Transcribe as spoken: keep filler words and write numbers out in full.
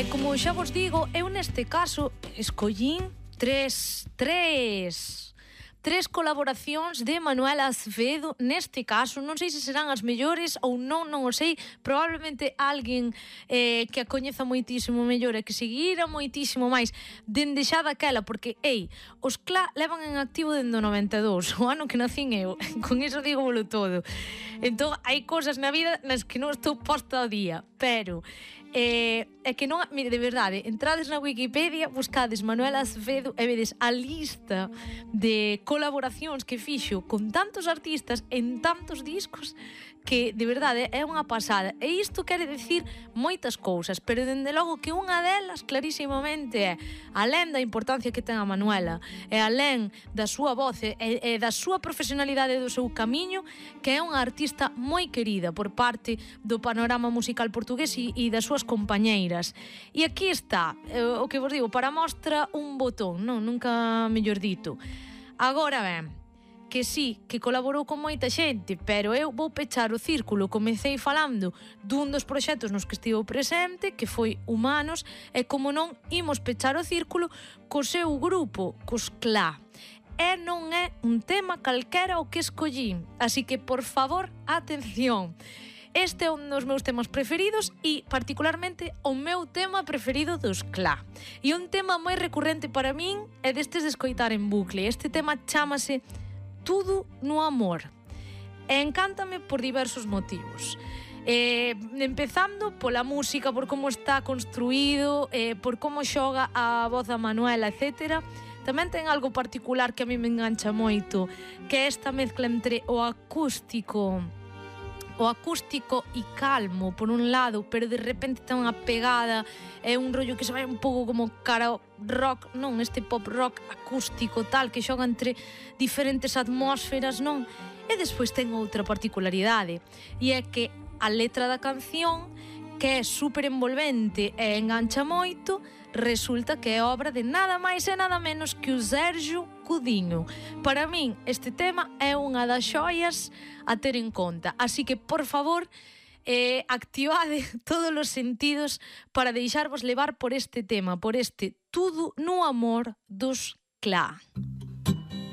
E como xa vos digo, eu neste caso escollín tres, tres... tres colaboracións de Manuela Azevedo neste caso, non sei se serán as mellores ou non, non o sei, probablemente alguén eh, que a coñeza moitísimo mellor e que seguira moitísimo máis dende xa daquela, porque, ei, os Cla levan en activo dende o noventa e dous, o ano que nacín eu, con iso digo bolo todo. Entón, hai cousas na vida nas que non estou posta ao día, pero Eh, é que non, mire, de verdade, entrades na Wikipedia, buscades Manuela Azevedo e vedes a lista de colaboracións que fixo con tantos artistas en tantos discos que, de verdade, é unha pasada. E isto quere decir moitas cousas, pero dende logo que unha delas clarísimamente é, alén da importancia que ten a Manuela, e alén da súa voz e, e da súa profesionalidade e do seu camiño, que é unha artista moi querida por parte do panorama musical portugués e, e das súas compañeiras. E aquí está, eh, o que vos digo, para mostra un botón, non? Nunca mellor dito. Agora ben, que sí, que colaborou con moita xente, pero eu vou pechar o círculo. Comecei falando dun dos proxectos nos que estivo presente, que foi Humanos, e como non, imos pechar o círculo co seu grupo, cos Cla. E non é un tema calquera o que escollín, así que, por favor, atención. Este é un dos meus temas preferidos e, particularmente, o meu tema preferido dos Cla. E un tema moi recurrente para min é destes de escoitar en bucle. Este tema chámase Tudo no Amor. E encántame por diversos motivos. Eh, empezando pola música, por como está construído, eh, por como xoga a voz da Manuela, etcétera. Tamén ten algo particular que a mí me engancha moito, que é esta mezcla entre o acústico o acústico e calmo por un lado, pero de repente ten unha pegada, é un rollo que se vai un pouco como cara rock, non, este pop rock acústico tal, que xoga entre diferentes atmósferas, non? E despois ten outra particularidade, e é que a letra da canción, que é super envolvente e engancha moito, resulta que é obra de nada máis e nada menos que o Sergio Cudinho. Para min, este tema é unha das xoias a ter en conta. Así que, por favor, eh, activade todos os sentidos para deixarvos levar por este tema, por este Tudo no Amor dos Cla.